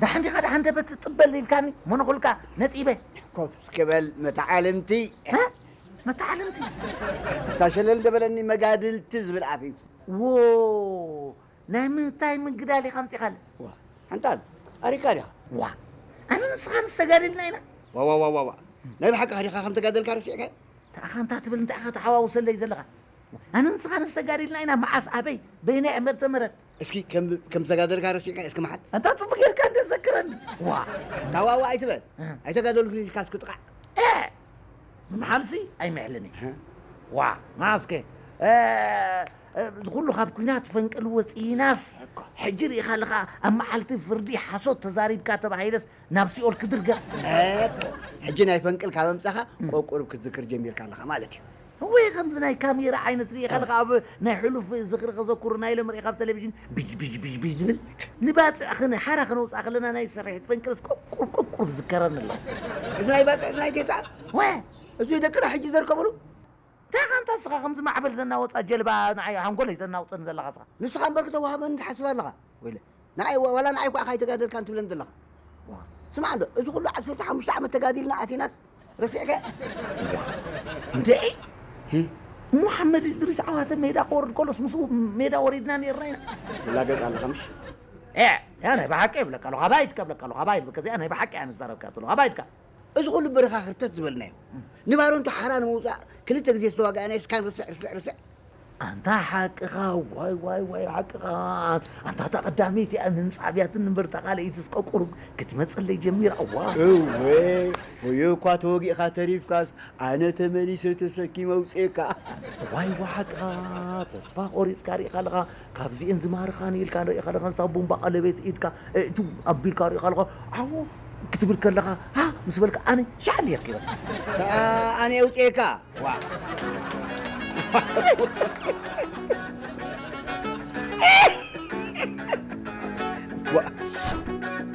ደሓን ዲኻ? ደሓን ደበት ጥበል ኢልካኒ፣ መነኹልካ ነጢበ። ኮፍ እስኪ በል መተዓልምቲ። እ? መተዓልምቲ? እታ ሸለል ደበለኒ መጋድልቲ ዝብል ኣፍ እዩ። ዎ፣ ናይ ምንታይ ምግዳል ኢኻ ኣምጺኻለ? ዋ፣ ሓንጣል፣ ኣሪካ ዲኻ? ዋ፣ ኣነ ንስኻ ምስ ተጋደልና ኢና። ዋ፣ ዋ፣ ዋ፣ ዋ፣ ዋ። ናይ ብሓቂ ዲኻ ከም ተጋደልካ ረሲዕካ? እንታይ ኢኻ እንታ ትብል፣ እንታይ ኢኻ ተሓዋውሰለይ ዘለኻ? ኣነ ንስኻ ንዝተጋደልና ኢና፣ መዓስ፣ ኣበይ፣ በየናይ ዓመተ ምህረት? እስኪ ከም፣ ከም ዝተጋደልካ ረሲዕካ እስኪ መሓል። ኣንታ ጽቡቅ ጌርካ እንደ ዘክረኒ። ዋ። ታዋዋ ኣይትበል። እ። ኣይተጋደልኩን ኢልካ እስኪ ጥቃዕ። እ። ንምሓልሲ ኣይምሕልን እየ። እ። ዋ፣ መዓስከ? እ፣ እ፣ እዚ ኩሉ ካብ ኲናት ፈንቅል ወጺናስ፣ እኮ። ሕጂ ርኢኻ ኣለኻ፣ ኣብ መዓልቲ ፍርዲ ሓሶት ተዛሪብካ ተባሂለስ ናብ ሲኦል ክድርገ። እኮ። ሕጂ ናይ ፈንቅል ካብ ኣምጻኻ እም። ቆቁሩብ ክትዝክር ጀሚርካ ኣለኻ ማለት እዩ። ወይ ከምዚ ናይ ካሜራ ዓይነት ርኢኻ ኣለኻ፣ ኣብ ናይ ሕሉፍ ዝኽሪ ከዘኩሩ ናይ ሎም ርኢኻ ኣብ ቴሌቪዥን ብጅ፣ ብጅ፣ ብጅ፣ ብጅ ዝብል ንባጽዕ ክን-፣ ሓራ ክነውጽኣ ከለና ናይ ስርሒት ፈንቅልስ ቆቁሩብ፣ ቆቁሩብ ዝከረኒ ኣሎ። እዚ ናይ ባጽዕ፣ እዚ ናይ ቴሳ? ወ። እዚ ደቅና ሕጂ ዘርከብሉ? እንታይ ኻንታ እስኻ ከምዚ ማዕበል ዘናወጻ ጀልባ ንዓይ ሓንጎለይ ዘናውጸኒ ዘለኻ እስኻ? ንስኻ እምበር ክተዋህበኒ ትሓስብ ኣለኻ? ወይለ። ንዓይ ወ-፣ ዋላ ንዓይ እኳ ኢኻ ኣይተጋደልካን ትብለኒ ዘለኻ። ዋ። ስማዕ እንዶ፣ እዚ ኩሉ ዓሰርተ ሓሙሽተ ዓመት ተጋዲልና ኣቲናስ ረሲዕካ? ዋ። እንዴ? ህም? ሙሓመድ እድሪስ ዓዋተ ሜዳ ክወርድ ከሎስ ምስኡ ሜዳ ወሪድና ነይርና ኢና። ትላገጽ ኣለኻ ምሽ? ኤ፣ ያ ናይ ብሓቂ ይብለካ ኣለኹ፣ ኣባይድካ ይብለካ ኣለኹ፣ ኣባይድ በቃ እዚኣ ናይ ብሓቂ እያ ንዛረብካ ዘለኹ፣ ኣባይድካ። እዚ ኩሉ በረኻ ክርተት ዝበልናዮ። ንባሮንቱ ሓራ ንምውጻእ ክልተ ግዜ ዝተዋጋእናዮ እስካን ርስዕ፣ ርስዕ፣ ርስዕ። ኣንታ ሓቅኻ፣ ዋይ፣ ዋይ፣ ዋይ፣ ሓቅኻ። ኣንታ እታ ቀዳመይቲ እያ ምምጻእ ኣብያትን እምበር እታ ካልኣይቲ እስከ ቁሩብ ክትመጸለይ ጀሚራ። ዋ። እወ፣ ወዮ እኳ ተወጊእኻ ተሪፍካስ ኣነ ተመሊሰ ተሰኪመ ኣውጽኤካ። ዋይ፣ ዋ፣ ሓቅኻ። ተስፋ ቆሪጽካ ርኢኻ ኣለኻ። ካብዚኤን ዝማርኻኒ ኢልካ ርኢኻ ኣለኻ። እታ ቡምባ ቀለቤት ኢድካ፣ እ፣ እቱ ኣቢልካ ርኢኻ ኣለኻ። ዓዎ ክትብል ከለኻ፣ ሃ ምስ በልካ ኣነ ሻዕል የርኪበካ። ከኣ ኣነ ኣውጽኤካ። ዋ።